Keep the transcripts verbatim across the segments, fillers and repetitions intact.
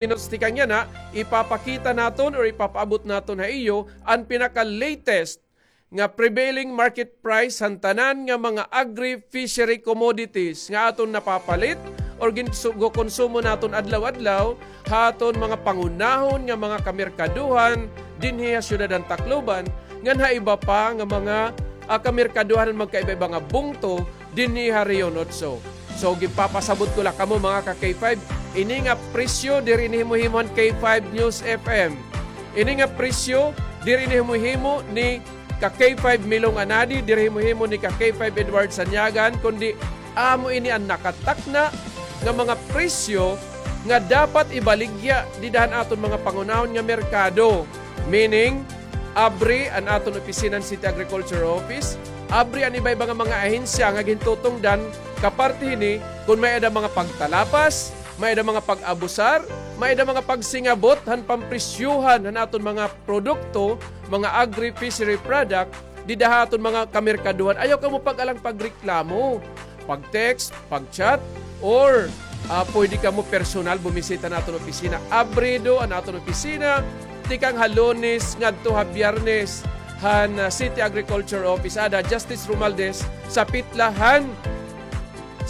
minutes tikang yana, ipapakita naton or ipapaabot naton ha iyo an pinaka-latest nga prevailing market price han tanan nga mga agri-fishery commodities nga aton napapalit or ginsu-, gokonsumo naton adlaw-adlaw ha aton mga pangunahon nga mga kamerkaduhan dinhi ha siyudad han Tacloban, ngan ha iba pa nga mga, ah, kamerkaduhan han magkaiba-iba nga bungto dinhi ha Rehiyon Otso. So, ginpapasabot ko la kamo, mga ka-K five, ini nga presyo diri ini himo-himo han K five News F M. Ini nga presyo diri ini himo-himo ni ka-K five Milong Anadi, diri himo-himo ni ka-K five Edward Sanyagan, kundi amo ini an nakatakna nga mga presyo nga dapat ibaligya dida han aton mga pangunahon nga merkado. Meaning, abri an aton opisina han City Agriculture Office, abri an iba-iba nga mga ahensya nga gintutungdan kaparte hini kon may-ada mga pagtalapas, may-ada mga pag-abusar, may-ada mga pagsingabot han pampresyohan han aton mga produkto, mga agri-fishery product, dida ha aton mga kamerkaduhan. Ayaw kamo pag-alang pagreklamo, pag-text, pag-chat, or, ah, pwede kamo personal bumisita han aton opisina. Abrido an aton opisina tikang ha Lunes ngadto ha Biyernes han, ah, City Agriculture Office, ada Justice Romualdez, sapit la han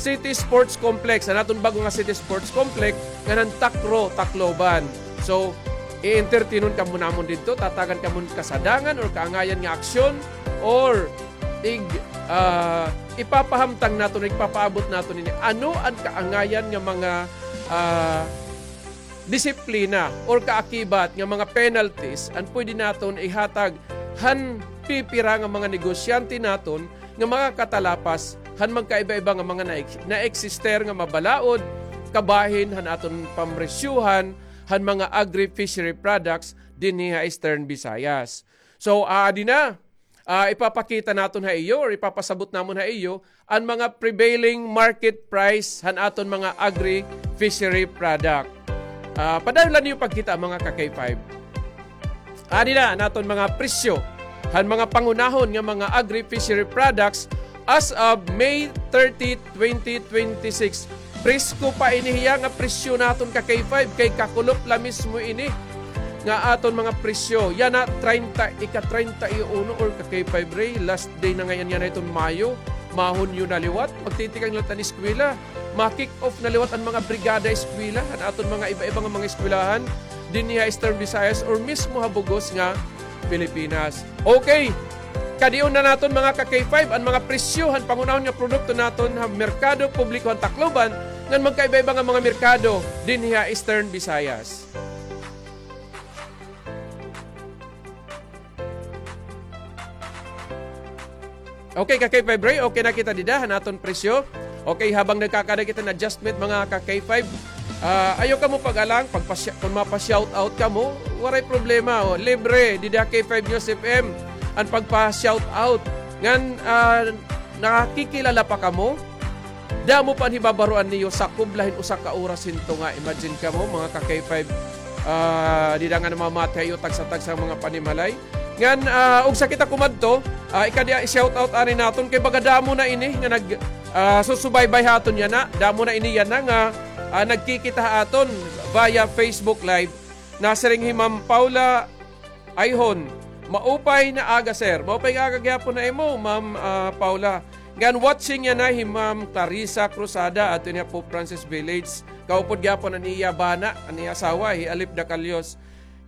City Sports Complex, an aton bag-o nga City Sports Complex, ngan han Takro, Tacloban. So, i-entertainon kamo namon didto, tatagan kamo hin kasadangan or kaangayan nga aksyon, or ig-, ah, ipapahamtang naton, igpapaabot naton ini. Ano an kaangayan nga mga, ah, disiplina or kaakibat nga mga penalties an pwede naton ihatag han pipira nga mga negosyante naton nga makakatalapas han magkaiba-iba nga mga na-, naeksister nga mabalaod kabahin han aton pamresyohan han mga agri-fishery products dinhi ha Eastern Visayas. So, aadi na, ah, ipapakita naton ha iyo or ipapasabot namon ha iyo an mga prevailing market price han aton mga agri-fishery product. Ah, padayon la niyo pagkita, mga ka-K five. Adi na an aton mga presyo han mga pangunahon nga mga agri-fishery products as of May thirty, twenty twenty-six. Presko pa ini hiya nga presyo naton ka-K five, kay kakulop la mismo ini nga aton mga presyo. Yana, treinta, ika-treinta y uno or ka-K five Ray, last day na ngay-an yana hiton Mayo. Mahunyo na liwat, magtitikang liwat an eskwela. Ma-kick off na liwat an mga brigada eskwela, an aton mga iba-iba nga mga eskwelahan dinhi ha Eastern Visayas or mismo ha bug-os nga Pilipinas. Okay. Kadion na naton, mga ka-K five, an mga presyo han pangunahon nga produkto naton ha merkado publiko han Tacloban ngan magkaiba-iba nga mga merkado dinhi ha Eastern Visayas. Okay, ka-K five Ray, okay na kita dida han aton presyo. Okay, habang nagkakada kita hin adjustment, mga ka-K five, ah, ayaw kamo pag-alang, pagpa-, kon mapa-shoutout kamo, waray problema, o, libre, dida K five News F M an pagpa-shoutout. Ngan, ah, nakikilala pa kamo? Damo pa an hibabaroan niyo, sakob la hin usa ka oras hin tunga. Imagine kamo, mga ka-K five, ah, dida nga namamati ha iyo tagsa-tagsa nga mga panimalay. Ngan, ah, ugsa kita kumadto, ah, ikadi, i-shoutout anay naton kay baga damo na ini nga nag, ah, susubaybay ha aton yana. Damo na ini yana nga, ah, nagkikita ha aton via Facebook Live. Nasiring hi Ma'am Paula Ayhon, maupay na aga, sir. Maupay nga aga gihapon ha imo, Ma'am, ah, Paula. Ngan watching yana hi Ma'am Clarissa Cruzada, adto niya Pope Francis Village. Kaupod gihapon an iya bana, an iya asawa, hi Alip Dacalios.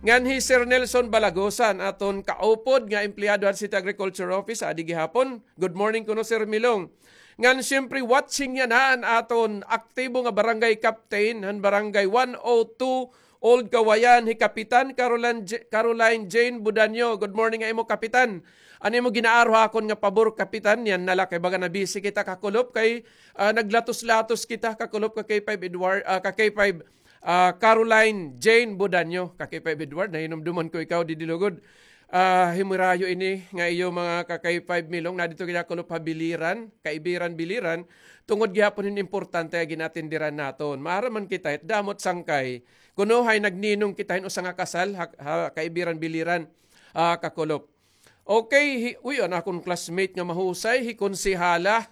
Ngan hi Sir Nelson Balagosan, aton kaupod nga empleyado han City Agriculture Office, adi gihapon. Good morning kuno, Sir Milong. Ngan siyempre, watching yana an aton aktibo nga barangay captain han barangay one oh two Old Kawayan, hi Kapitan Caroline J-, Caroline Jane Budanyo. Good morning ha imo, Kapitan. An imo ginaaro ha akon nga pabor, Kapitan, yana la kay baga na-busy kita kakulop kay, ah, naglatos-latos kita kakulop ka-K five Edward, ah, ka-K five, ah, Caroline Jane Budanyo. Ka-K five Edward, nahinumduman ko ikaw didi lugod. Ah, himirayo ini nga iyo, mga ka-K five Milong, nadidto kita kulop ha Biliran, Kaibiran, Biliran, tungod gihapon hin importante nga gin-atenderan naton. Maaram man kita, damo it sangkay. Kuno hay nagninong kita hin usa nga kasal ha, ha Kaibiran, Biliran, ah, kakulop. Okay, hi, uy, an akon classmate nga mahusay, hi Konsehala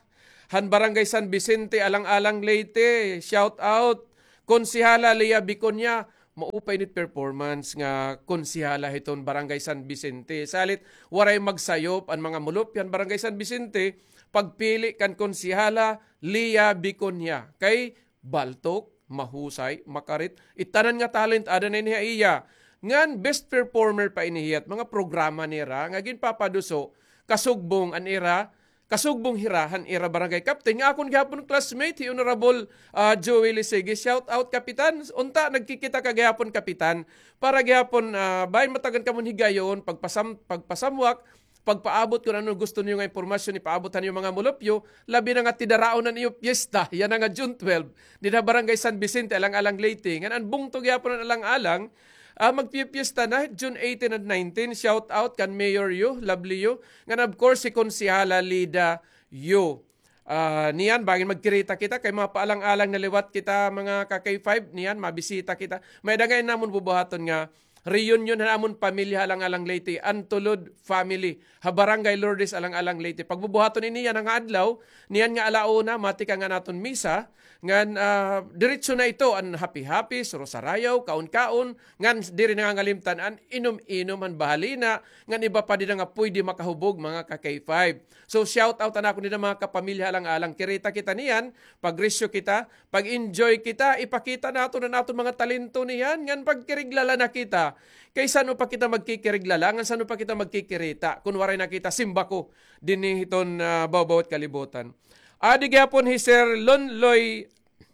han Barangay San Vicente, Alang-alang, Leyte. Shout out, Konsehala Lea Biconia. Maupay nit performance nga konsehala hiton Barangay San Vicente. Salit, waray magsayop an mga mulupyo han Barangay San Vicente, pagpili kan konsehala Lia Biconia. Kay baltok, mahusay, makarit, itanan nga talent ada na ini ha iya. Ngan best performer pa ini hit mga programa nira nga ginpapaduso, kasugbong an ira, kasugbong hira han ira barangay captain nga akon gihapon classmate, hi Honorable, ah, Joey Lisigi. Shout out, Kapitan. Unta nagkikita ka gihapon, Kapitan, para gihapon, ah, bahin matagan kamo hin higayon, pagpasam-, pagpasamwak, pagpaabot kon ano gusto niyo nga impormasyon ipaabot han iyo mga mulupyo, labi na nga tidaraon an iyo piyesta, yana nga June twelve, dida Barangay San Vicente, Alang-alang, Leyte. Ngan an bungto gihapon han Alang-alang, ah, magpipiesta na June eighteen and nineteen. Shout out kan Mayor Yu, Lovely Yu. Ngan of course, hi Konsehala Lida Yu. Ah, niyan, bangin magkirita kita, kay mapaalang-alang na liwat kita, mga ka-K five, niyan, mabisita kita. May-ada ngay-an namon bubuhaton nga reunion han amon pamilya ha Alang-alang, Leyte, an Tulod family, ha Barangay Lourdes, Alang-alang, Leyte. Pagbubuhaton ini yana nga adlaw, niyan nga ala una, matikang an aton misa, ngan, ah, diretso na ito, an happy-happy, suro-sarayaw, kaon-kaon, ngan diri nangangalimtan an inom-inom han bahalina, ngan iba pa dida nga pwede makahubog, mga ka-K five. So, shout out an akon dida mga kapamilya ha Alang-alang. Kirita kita niyan, pagrisyo kita, pag-enjoy kita, ipakita naton an aton mga talento niyan, ngan pagkiriglala na kita. Kay san-o pa kita magkikiriglala, ngan san-o pa kita magkikirita, kun waray na kita simbako dinhi hiton, ah, bawbaw hit kalibutan. Adi gihapon hi Sir Lonloy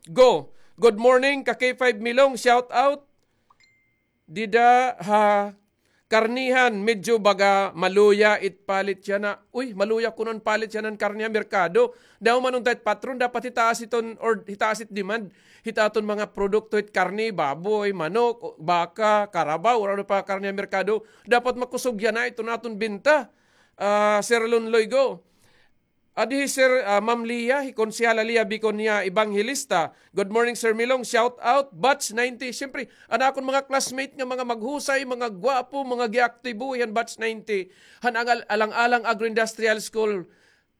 Go. Good morning, ka K five Milong, shout out. Dida ha karnihan, medyo baga maluya it palit yana. Uy, maluya kuno an palit yana han karne ha merkado. Daw man unta it patron, dapat hitaas iton, or hitaas it demand hit aton mga produkto, hit karne, baboy, manok, baka, karabaw, or ano pa karne ha merkado. Dapat makusog yana iton aton benta. Ah, Sir Lonloy Go. Adi hi Sir, ah, Ma'am Lia, hi Konsehala Lia Biconia Evangelista. Good morning, Sir Milong. Shout out, Batch ninety. Siyempre, an akon mga classmate nga mga maghusay, mga gwapo, mga giaktibo, han Batch ninety. Han angal-, Alang-alang Agro-Industrial School.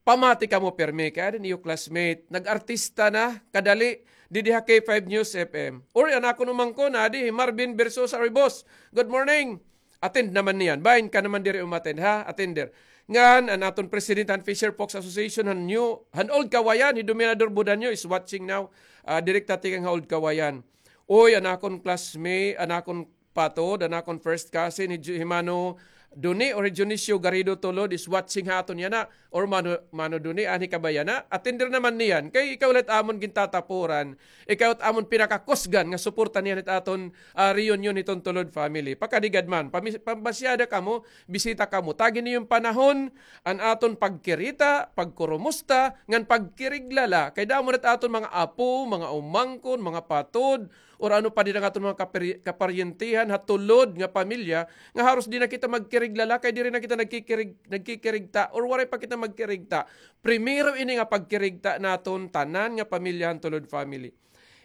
Pamati kamo pirmi kay adi an iyo classmate. Nag-artista na, kadali, didi ha K five News F M. Or an akon umangkon, adi hi Marvin Versosa Ribos. Good morning. Attend naman niyan. Bahin ka naman diri umattend, ha? Attender. Ngan, an aton presidente han Fisher Folks Association, han New, han Old Kawayan, hi Dominador Budanyo is watching now. Ah, direkta tikang ha Old Kawayan. Oy, an akon classmate, an akon patod, an akon first cousin, hi Ju-, hi Mano Duni or hi Dionisio Garrido Tulod is watching ha aton yana. Or Mano, Mano Duni, anhi ka ba yana? Attender naman niyan. Kay ikaw la it amon gintatapuran. Ikaw it amon pinakakusgan nga suporta niyan it aton, ah, reunion hiton Tulod family. Pakadigad man, pami-, pamasyada kamo, bisita kamo. Tagi niyo an panahon, an aton pagkirita, pagkurumusta, ngan pagkiriglala. Kay damo na it aton mga apo, mga umangkon, mga patod, or ano pa dida nga aton mga kapari-, kaparyentehan ha Tulod nga pamilya, nga haros di na kita magkiriglala, kay diri na kita nagkikirig-, nagkikirigta, or waray pa kita magkirigta. Primero ini nga pagkirigta naton tanan nga pamilya han Tulod family.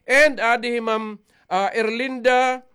And adi hi Ma'am, ah, Erlinda,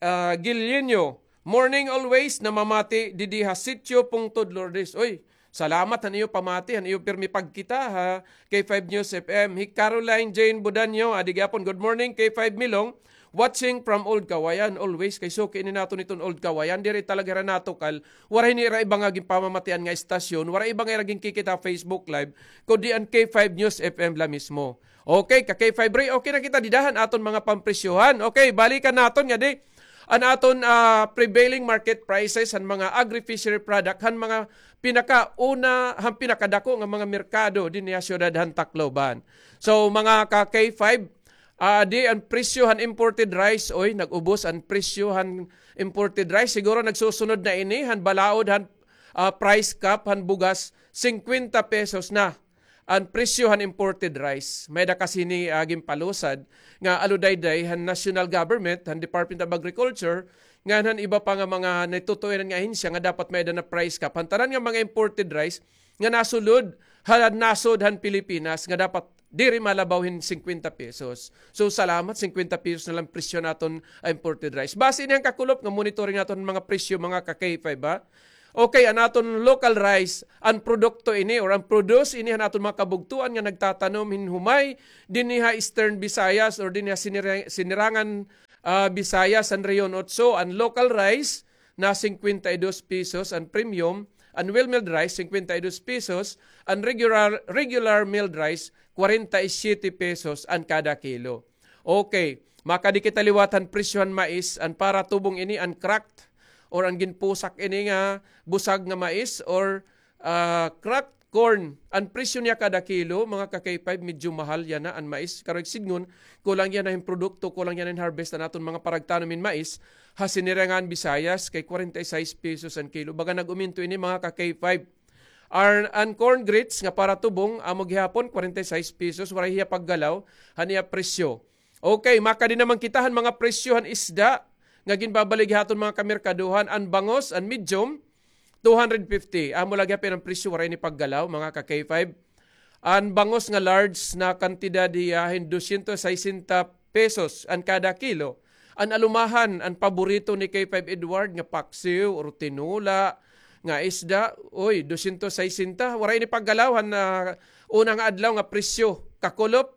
ah, Guillenio. Morning always, namamati didi ha Sitio Pungtod, Lourdes. Oy, salamat han iyo pamati, han iyo pirmi pagkita ha K five News F M. Hi Caroline Jane Budanyo, adi gihapon, good morning, K five Milong. Watching from Old Kawayan, always kay suki ini naton iton Old Kawayan. Diri talaga hira natukal. Waray nira iba nga ginpamamatian nga istasyon, waray iba nga ira ginkikita ha Facebook Live, kundi an K five News F M la mismo. Okay, ka K five Ray, okay na kita dida han aton mga pampresyohan. Okay, balikan naton ngadi an aton, ah, prevailing market prices han mga agri-fishery product han mga pinakauna, han pinakadako nga mga merkado dinhi ha siyudad han Tacloban. So, mga ka K five, ah, di an presyo han imported rice, oy, nag-ubos an presyo han imported rice. Siguro nagsusunod na ini han balaod han, ah, price cap han bugas, singkwenta pesos na an presyo han imported rice. May-ada kasi ni, ah, ginpalusad nga aludayday han national government, han Department of Agriculture, ngan han iba pa nga mga natutuinan nga ahensya nga dapat may-ada na price cap han tanan nga mga imported rice nga nasulod han nasod han Pilipinas nga dapat diri malabaw hin singkwenta pesos. So, salamat, singkwenta pesos na lang presyo naton, ah, imported rice. Base ini han kakulop nga monitoring naton mga presyo, mga ka K five, ha? Okay, an aton local rice, an produkto ini or an produce ini han aton mga kabugtoan nga nagtatanom hin humay dinhi ha Eastern Visayas or dinhi ha sinira-, sinirangan, ah, Visayas, an Rehiyon Otso, an local rice na singkwenta y dos pesos, an premium, an well milled rice, singkwenta y dos pesos, an regular, regular milled rice, kwarenta y siyete pesos an kada kilo. Okay, makadi kita liwat han presyo han mais, an para tubong ini, an cracked, or an ginpusak ini nga busag nga mais, or, ah, cracked corn. An presyo niya kada kilo, mga ka-K five, medyo mahal yana an mais. Karuyag sidngon, kulang yana hin produkto, kulang yana hin harvest an aton mga paragtanom hin mais ha sinirangan Visayas, kay kwarenta y sais pesos an kilo. Baga nag-uminto ini, mga ka-K five. Ar-, an corn grits nga para tubong, amo gihapon, kwarenta y sais pesos, waray hiya paggalaw han iya presyo. Okay, makadi naman kita han mga presyo han isda nga ginbabaligya ha aton mga kamerkadohan. An bangus, an medium, two hundred fifty. Amo la gihapon an presyo, waray ini paggalaw, mga ka-K five. An bangus nga large na kantidad hiya hin dosyentos saysenta pesos an kada kilo. An alumahan, an paborito ni K five Edward nga paksiw or tinola nga isda, oy, dosyentos saysenta. Waray ini paggalaw han, ah, una nga adlaw nga presyo. Kakulop,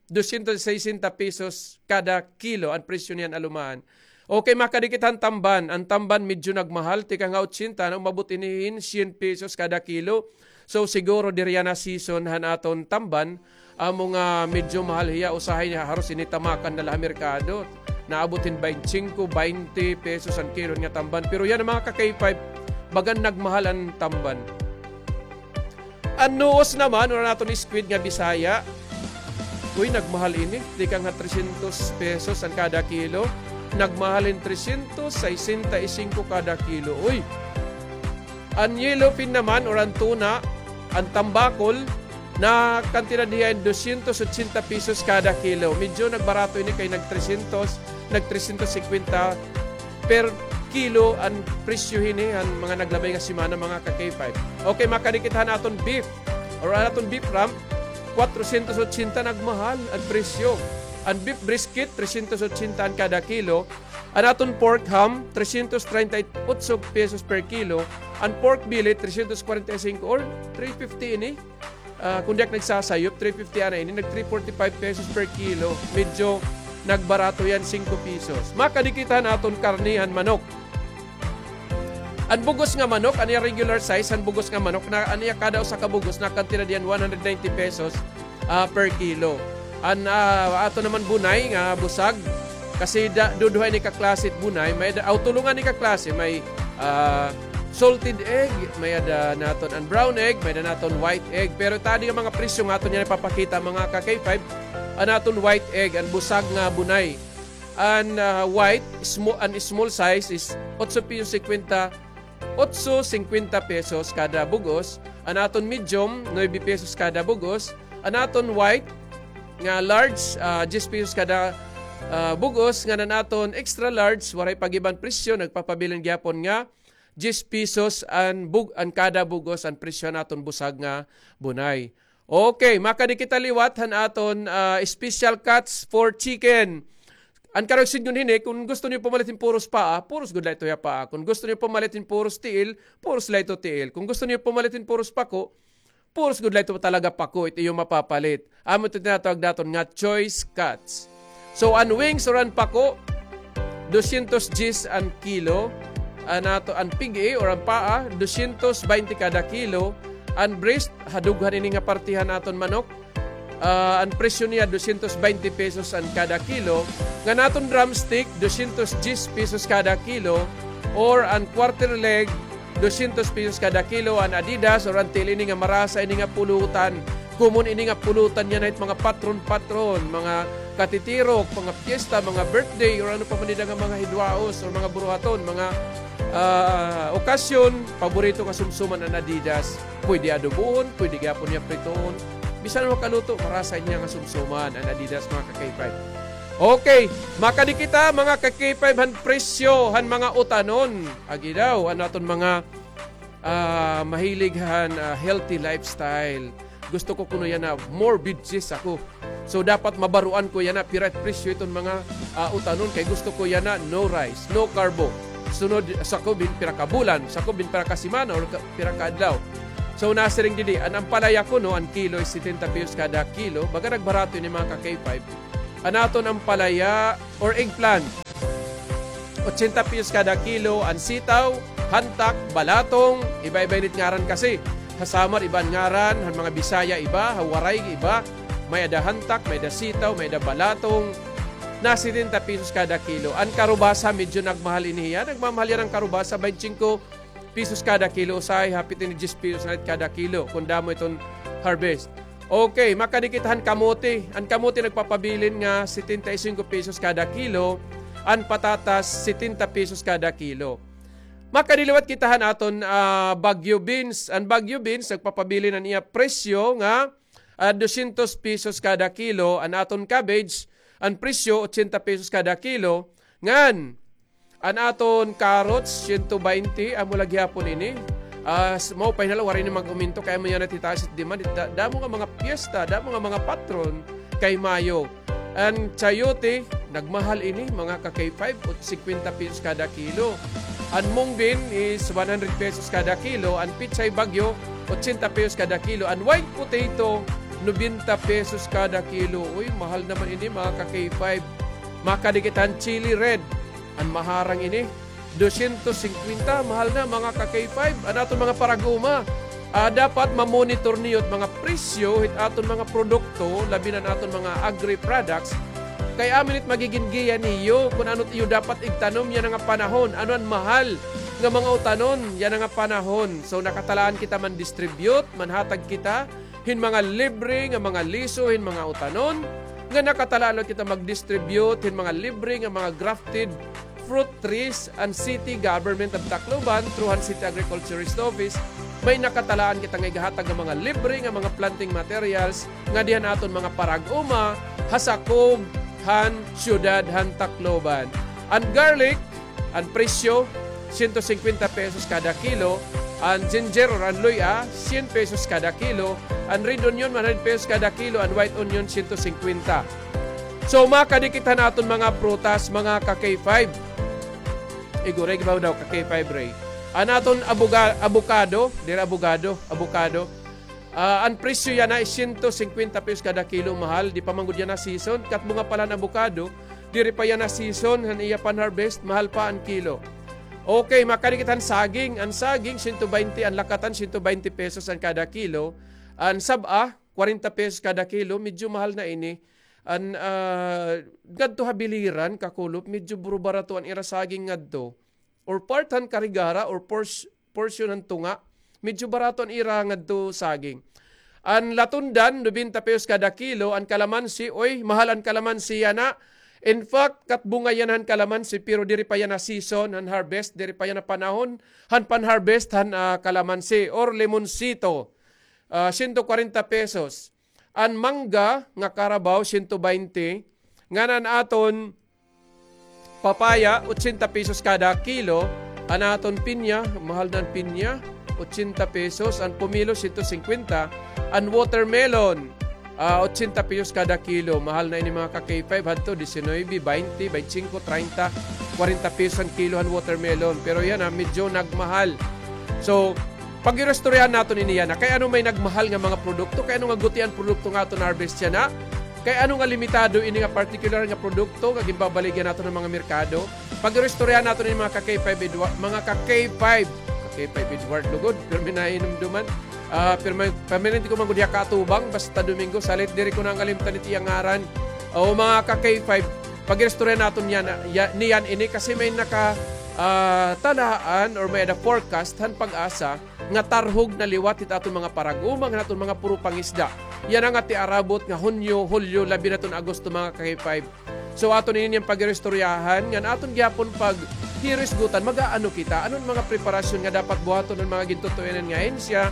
dosyentos saysenta pesos kada kilo an presyo niyan alumahan. Okay, makadi kita han tamban. An tamban medyo nagmahal, tikang ha otsenta, na umabot ini hin syen pesos kada kilo. So, siguro diri yana season han aton tamban, amo nga medyo mahal hiya, usahay niya haros ini tamakan na la ha merkado. Naabot hin baynte singko, baynte pesos an kilo nga tamban. Pero yana, mga ka-K five, bagan nagmahal an tamban. An nuos naman, or an aton squid nga Bisaya, uy, nagmahal ini. Tikang ha tresyentos pesos an kada kilo. Nagmahal hin tresyentos saysenta y singko kada kilo. Uy! An yellowfin naman, or an tuna, an tambakol, na kantidad hiya hin dosyentos otsenta pesos kada kilo. Medyo nagbarato ini kay nag-tresyentos, nag-tresyentos singkwenta per kilo an presyo hini han mga naglabay nga semana, mga ka-K five. Okay, makadi kita han aton beef or an aton beef rump, kwatrosyentos otsenta, nagmahal an presyo. An beef brisket, tresyentos otsenta an kada kilo. An aton pork ham, tresyentos treinta y ocho pesos per kilo. An pork belly, tresyentos kwarenta y singko or three fifty ini. Ah, kon di ak nagsasayop, three fifty ana ini, nag three forty-five pesos per kilo. Medyo nagbarato yana, singko pesos. Makadi kita han aton karne han manok. An bug-os nga manok, an iya regular size han bug-os nga manok, na an iya kada usa ka bug-os, nakantidad yana one hundred ninety pesos, ah, per kilo. An, ah, aton naman bunay nga busag, kasi da-, duduha ini ka klase it bunay, may-ada, aw, tulo ngani ka klase, may, ah, salted egg, may-ada naton an brown egg, may-ada naton white egg. Pero it adi nga mga presyo nga aton yana ipapakita, mga ka-K five, an aton white egg, an busag nga bunay. An, ah, white, smo-, an small size is otso pesos singkwenta, otso singkwenta pesos kada bug-os. An aton medium, nuebe pesos kada bug-os. An aton white nga large, ah, diyes pesos kada, ah, bug-os. Ngan an aton extra large, waray pag-iban presyo, nagpapabilin gihapon nga diyes pesos an bug-, an kada bug-os, an presyo han aton busag nga bunay. Okay, makadi kita liwat han aton, ah, special cuts for chicken. An karuyag sidngon hini, kon gusto niyo pumalit hin puros paa, puros gud la ito hiya paa. Kon gusto niyo pumalit hin puros tiil, puros la ito tiil. Kon gusto niyo pumalit hin puros pako, puros gud la ito talaga pako it iyo mapapalit. Amo ito tinatawag naton nga choice cuts. So, an wings or an pako, dosyentos diyes an kilo. An ato, an pig-i or an paa, dosyentos baynte kada kilo. An breast, ha dughan ini nga parte han aton manok, ah, an presyo niya, dosyentos baynte pesos an kada kilo. Ngan aton drumstick, dosyentos diyes pesos kada kilo. Or an quarter leg, dosyentos pesos kada kilo. An Adidas or an tiil ini nga marasa ini nga pulutan. Common ini nga pulutan yana hit mga patron-patron, mga katitirok, mga piyesta, mga birthday, or ano pa man dida nga mga hidwaos, or mga buruhaton, mga, ah, okasyon, paborito nga sumsuman an Adidas. Pwede adobohon, pwede gihapon niya pritohon. Bisan makaluto, marasa niya nga sumsuman an Adidas, mga ka-K five. Okay, makadi kita, mga ka-K five, han presyo han mga utanon. Agi daw, an aton mga, ah, mahilig han, ah, healthy lifestyle. Gusto ko kuno yana more veggies ako. So, dapat mabaroan ko yana pira it presyo iton mga, ah, utanon, kay gusto ko yana no rice, no carbo. sunod, sakob hin pira ka bulan, sakob hin pira ka semana or ka, pira ka adlaw. So, nasiring didi, an ampalaya kuno, an kilo is setenta pesos kada kilo, baga nagbarato ini, mga ka-K five. An aton ampalaya or eggplant, ochenta pesos kada kilo, an sitaw, hantak, balatong, iba-iba ini it ngaran kasi. Ha Samar, iba an ngaran, han mga Bisaya, iba, ha Waray, iba. May-ada hantak, may-ada sitaw, may-ada balatong. Na setenta pesos kada kilo. An karubasa, medyo nagmahal ini hiya. Nagmamahal yana an karubasa, baynte singko pesos kada kilo. Usahay, hapit ini diyes pesos na la it kada kilo, kon damo iton harvest. Okay, makadi kita han kamote. An kamote nagpapabilin nga setenta y cinco pesos kada kilo. An patatas, setenta pesos kada kilo. Makadi liwat kita han aton, ah, Baguio beans. An Baguio beans, nagpapabilin an iya presyo nga, ah, dosyentos pesos kada kilo. An aton cabbage, an presyo, ochenta pesos kada kilo. Ngan, an aton carrots, siyento baynte, amo la gihapon ini. Ah, s-, maupay na la, waray ini mag-uminto, kay amo yana it hitaas it demand. Da-, damo nga mga piyesta, damo nga mga patron kay Mayo. An chayote, nagmahal ini, mga ka-K five, ot-, singkwenta pesos kada kilo. An mung bean is one hundred pesos kada kilo. An pechay Baguio, ochenta pesos kada kilo. An white potato, nobenta pesos kada kilo. Uy, mahal naman ini, mga ka-K five. Makadi kita han chili red. An maharang ini, dosyentos singkwenta, mahal na, mga ka-K five. An aton mga parag-uma, ah, dapat ma-monitor niyo it mga presyo hit aton mga produkto, labi na an aton mga agri-products. Kay amo ini it magigin giya niyo kon ano it iyo dapat igtanom yana nga panahon, ano an mahal nga mga utanon yana nga panahon. So, nakatalaan kita man-distribute, manhatag kita hin mga libre nga mga liso hin mga utanon, nga nakatalaan liwat kita mag-distribute hin mga libre nga mga grafted fruit trees an city government of Tacloban through han City Agriculturist Office. May nakatalaan kita nga igahatag nga mga libre nga mga planting materials ngadi han aton mga parag-uma ha sakob han siyudad han Tacloban. An garlic, an presyo, siyento singkwenta pesos kada kilo. An ginger or an luy-a, syen pesos kada kilo. An red onion, one hundred pesos kada kilo. An white onion, siyento singkwenta. So, makadi kita han aton mga prutas, mga ka-K five. Igo, Ray, gibaw daw ka-K five, Ray. An aton abuga-, abukado, diri abogado, abukado. Ah, an presyo yana is siyento singkwenta pesos kada kilo, mahal. Di pa man gud yana season. Kat bunga pa la han abukado, diri pa yana season han iya pan-harvest, mahal pa an kilo. Okay, makadi kita han saging. An saging, siyento baynte, an lakatan, siyento baynte pesos an kada kilo. An sab-a, kwarenta pesos kada kilo, medyo mahal na ini. An, ah, ngadto ha biliran, kakulop, medyo buro-barato an ira saging ngadto. Or part han karigara, or pors-, portion han tunga, medyo barato an ira ngadto saging. An latundan, nobenta pesos kada kilo, an kalamansi, oy, mahal an kalamansi yana. In fact, kat bunga yana han kalamansi, pero diri pa yana season han harvest, diri pa yana panahon han pan-harvest han, ah, kalamansi or limonsito. Ah, siyento kwarenta pesos. An mangga nga karabaw, siyento baynte. Ngan an aton papaya, ochenta pesos kada kilo. An aton pinya, mahal na an pinya, ochenta pesos. An pomelo, siyento singkwenta. An watermelon, ah, ochenta pesos kada kilo. Mahal na ini, mga ka-K five, hadto, disinuybe, baynte, baynte singko, traynta, kwarenta pesos an kilo han watermelon. Pero yana, medyo nagmahal. So, pag-iristoryahan naton ini yana. Kay ano may nagmahal nga mga produkto? Kay ano nga guti an produkto nga aton harvest yana? Kay ano nga limitado ini nga partikular nga produkto nga ginbabaligya naton han mga merkado? Pag-iristoryahan naton ini, mga ka-K five Edwa-, mga ka-K five. Ka-K five Edward lugod, pirmi nahinumduman. Ah, pirmi, permanente ko man gud hiya kaatubang, basta Domingo, salit diri ko nangalimtan it iya ngaran. O, mga ka-K five, pag-iristoryahan naton yana, ya-, niyan ini kasi may naka, ah, talaan or may-ada forecast han PAGASA nga tarhog na liwat hit aton mga parag-uma, ngan aton mga puro pangisda. Yana nga tiarabot nga Hunyo, Hulyo, labi na iton Agosto, mga ka-K five. So, aton ini niyan pag-iristoryahan, ngan aton gihapon paghirisgutan, mag-aano kita, ano an mga preparasyon nga dapat buhaton han mga gintutuyanan nga ahensya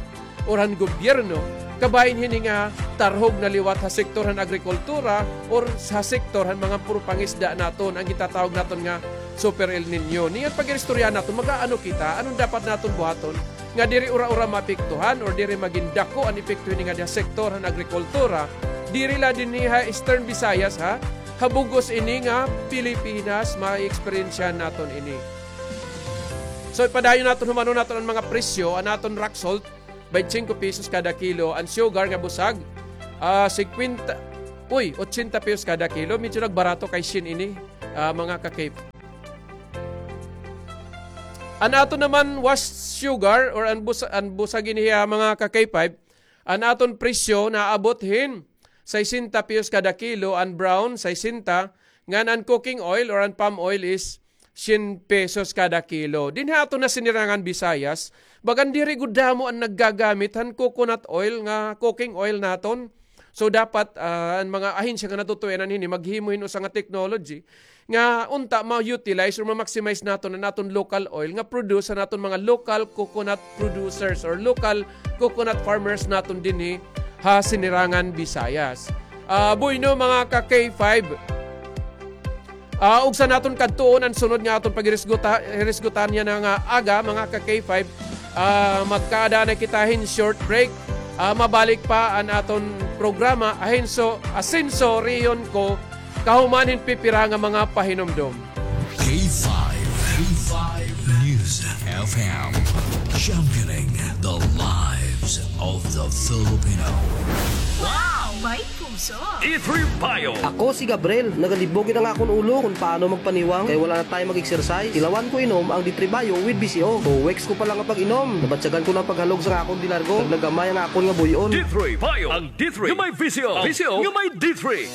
or han gobyerno, kabahin hini nga tarhog na liwat ha sektor han agrikultura or sa sektor han mga puro pangisda naton, an gintatawag naton nga Super El Niño. Niyan pag-iristoryahan naton, mag-aano kita, ano an dapat naton buhaton, nga diri ura-ura maapektuhan or diri magin dako an epekto hini ngadi ha sektor han agrikultura, diri la dinhi ha Eastern Visayas, ha, ha bug-os ini nga Pilipinas, ma-experience naton ini. So, ipadayon naton, humanon naton an mga presyo, an aton rock salt, baynte singko pesos kada kilo, an sugar nga busag, ah, singkwenta, uy, otsenta pesos kada kilo, medyo nagbarato kay syen ini, ah, mga ka-K five. An aton naman wash sugar or an busa-, an busag ini, ah, mga ka-K five, an aton presyo naabot hin sesenta pesos kada kilo, an brown, sesenta, ngan an cooking oil or an palm oil is syen pesos kada kilo. Dinhi ha aton nga Sinirangan Visayas, bagan diri gud damo an naggagamit han coconut oil nga cooking oil naton. So, dapat, ah, an mga ahensya nga natutuyanan hini, maghimo hin usa nga technology nga unta ma-utilize or ma-maximize naton an aton local oil nga produce han aton mga local coconut producers or local coconut farmers naton dinhi ha Sinirangan Visayas. Ah, bueno, mga ka-K five, ah, ugsa naton kadtuon an sunod nga aton paghirisguta-, hirisgutan yana nga aga, mga ka-K five. Ah, magkaada na kita hin short break. Ah, mabalik pa an aton programa, Ahenso, Asenso, Rehiyon Ko, kahuman hin pipira nga mga pahinumdom. K five, K five News F M, championing the lives of the Filipino. Wow! May puso! D three Bio. Ako si Gabriel, nagalibog na nga akon ulo kon paano magpaniwang kay wala na tayo mag-exercise. Tilawan ko inom ang D three Bio with V C O. Two weeks ko pa lang nga pag-inom, nabatyagan ko na paghalog sa akon di largo. Nagnagamay ang akon nga buy-on. D three Bio, ang D three nga may V C O. V C O nga may D three.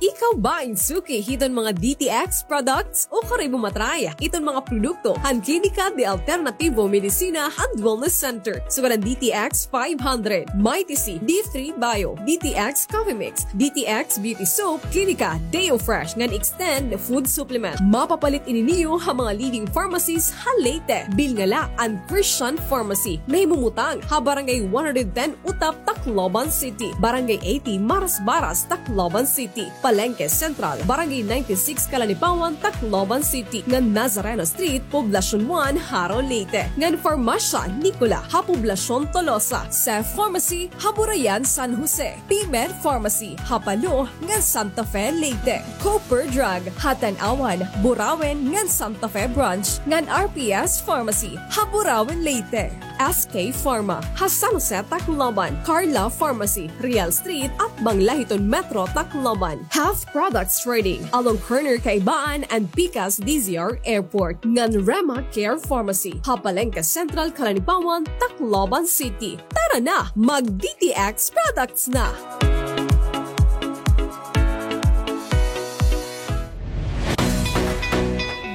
Ikaw ba in suki hiton mga D T X products? O karoy mo matry iton mga produkto han Klinika de Alternativo Medicina and Wellness Center. Sugad an D T X five hundred, Mighty C, D three Bio, D T X Coffee Mix, D T X Beauty Soap, Klinika Deo Fresh ngan Extend Food Supplement. Mapapalit ini niyo ha mga leading pharmacies ha Leyte. Bilngala an Christian Pharmacy, nahimumutang ha Barangay one hundred ten Utap, Tacloban City, Barangay eighty Marasbaras, Tacloban City, Palengke Central, Barangay ninety-six Calanipawan, Tacloban City, ngan Nazareno Street, Poblacion one, Jaro, Leyte, ngan Farmasya Nicola ha Poblacion Tolosa. Cef Pharmacy ha Burayan, San Jose, P-Med Pharmacy ha Palo ngan Santa Fe, Leyte, Cooper Drug ha Tanauan, Burauen ngan Santa Fe Branch, ngan R P S Pharmacy ha Burauen, Leyte. S K Pharma ha San Jose, Tacloban, Carla Pharmacy, Real Street, atbang la hiton Metro Tacloban, Half Products Trading, along corner Kaibaan and pikas D Z R Airport, ngan Rema Care Pharmacy ha Palengke Central, Calanipawan, Tacloban City. Tara na, mag D T X products na!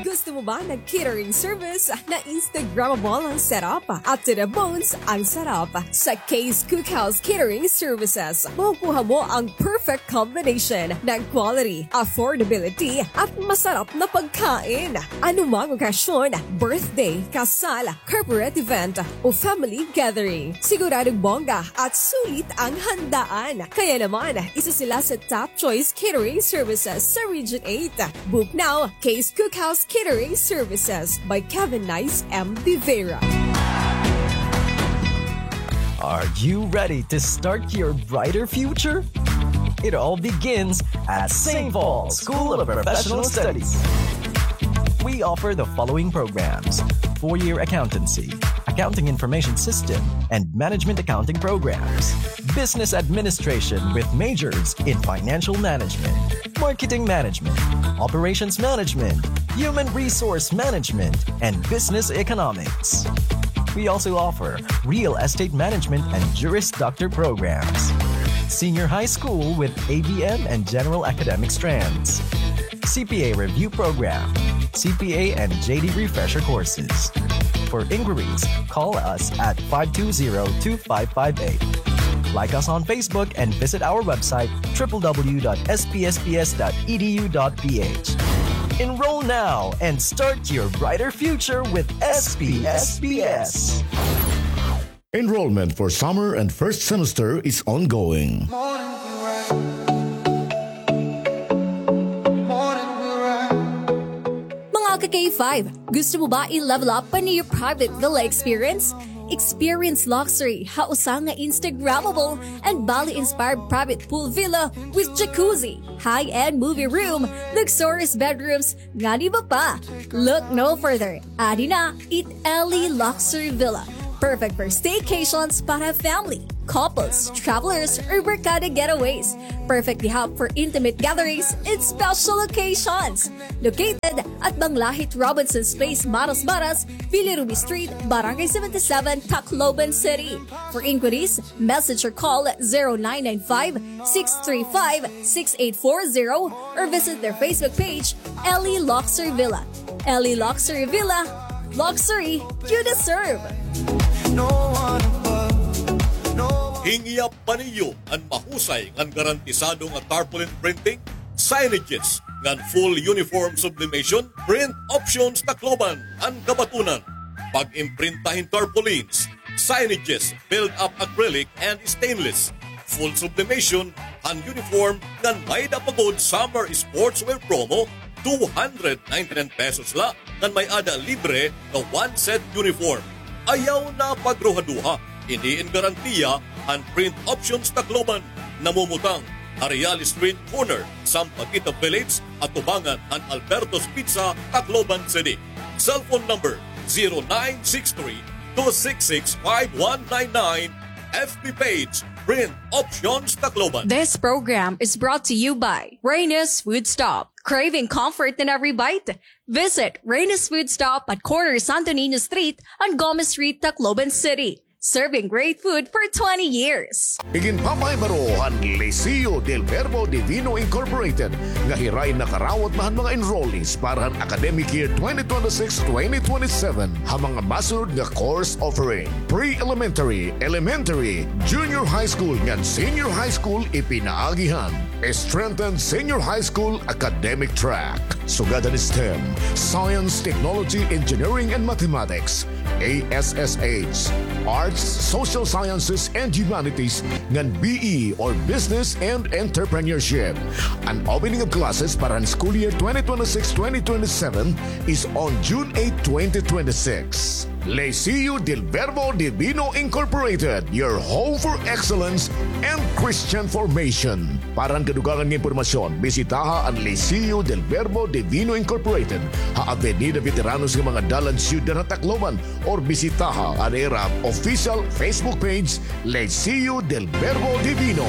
Gusto mo ba ng catering service na Instagrammable ang setup at to the bones ang sarap? Sa Kay's Cookhouse Catering Services, makukuha mo ang perfect combination ng quality, affordability, at masarap na pagkain. Anumang okasyon, birthday, kasal, corporate event, o family gathering, siguradong bongga at sulit ang handaan. Kaya naman, isa sila sa top choice catering services sa Region eight. Book now, Kay's Cookhouse Catering Services by Kevin Nice M. De Vera. Are you ready to start your brighter future? It all begins at Saint Paul School of Professional Studies. We offer the following programs: four-year accountancy, accounting information system, and management accounting programs. Business administration with majors in financial management, marketing management, operations management, human resource management, and business economics. We also offer real estate management and Juris Doctor programs. Senior high school with A B M and general academic strands. C P A review program, C P A and J D refresher courses. For inquiries, call us at five two zero, two five five eight. Like us on Facebook and visit our website, triple W dot S P S P S dot E D U dot P H. Enroll now and start your brighter future with S P S P S. Enrollment for summer and first semester is ongoing. Mga ka-K five, gusto mo ba i-level up pa niyo private villa experience? Experience luxury ha usa nga Instagrammable and Bali-inspired private pool villa with jacuzzi, high-end movie room, luxurious bedrooms, ngan iba pa. Look no further. Adi na it Ellie Luxury Villa. Perfect for staycations para family, couples, travelers, or barkada getaways. Perfect gihap for intimate gatherings and special occasions. Located at Banglahit Robinson's Place, Maras Maras, Billy Ruby Street, Barangay seventy-seven, Tacloban City. For inquiries, message or call zero nine nine five, six three five, six eight four zero or visit their Facebook page, Ellie Luxury Villa. Ellie Luxury Villa, luxury you deserve. Hingyap pa niyo an mahusay ngan garantisado nga tarpaulin printing, signages, ngan full uniform sublimation? Print Options Tacloban an kabatunan. Pag-imprinta hin tarpaulins, signages, build-up acrylic and stainless, full sublimation han uniform ngan may-ada pa gud summer sportswear promo, two hundred ninety-nine pesos la ngan may-ada libre nga one set uniform. Ayaw na pagruhaduha, ini in garantiya han Print Options Tacloban. Namumutang ha Real Street corner, Sampaguita Village, atubangan han Alberto's Pizza, Tacloban City. Cellphone number zero nine six three, two six six, five one nine nine. F B page, Print Options Tacloban. This program is brought to you by Reyna's Food Stop. Craving comfort in every bite? Visit Reyna's Food Stop at corner Santo Niño Street and Gomez Street, Tacloban City. Serving great food for twenty years. Iginpamaybaro han Liceo del Verbo Divino Incorporated nga hiray nakarawat na han mga enrollees para han academic year twenty twenty-six twenty twenty-seven ha mga masunod nga course offering: pre-elementary, elementary, junior high school ngan senior high school. Ipinaagi han strengthened senior high school academic track, sugad han STEM, Science, Technology, Engineering, and Mathematics, A S S H, Arts, Social Sciences, and Humanities, ngan B E or Business and Entrepreneurship. An opening of classes para han school year twenty twenty-six twenty twenty-seven is on June eight, twenty twenty-six. Liceo del Verbo Divino Incorporated, your home for excellence and Christian formation. Para han kadugangan nga impormasyon, bisitaha an Liceo del Verbo Divino Incorporated ha Avenida Veteranos nga mga dalan, Syudad ha Tacloban, or bisitaha an ira official Facebook page, Liceo del Verbo Divino.